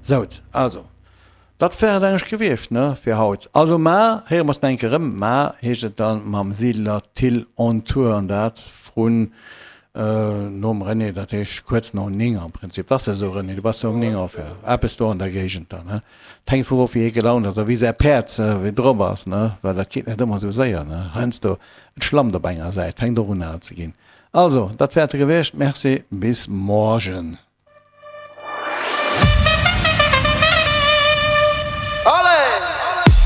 Sout, also, dat wär et eigentlech gewiescht, ne, fir haut. Also, mar héiere mer eis nach eng Kéier erëm. Mar heescht et dann mam Siedler Thill on Tour, an dat vrun nom René, dat heescht kuerz no 9 am Prinzip. Dat ass jo esou, René, du bass jo um 9 of, jo, eppes do an der Géigend dann, ne. Et hänkt vum of, wéi hie gelaunt ass a wéi säi Päerd wéi drop ass, ne, well dat geet net ëmmer esou séier, ne. Heiansdo, et schlammt op enger Säit, fänkt och un al ze ginn. Also, dat wär et gewiescht. Merci, bis morgen.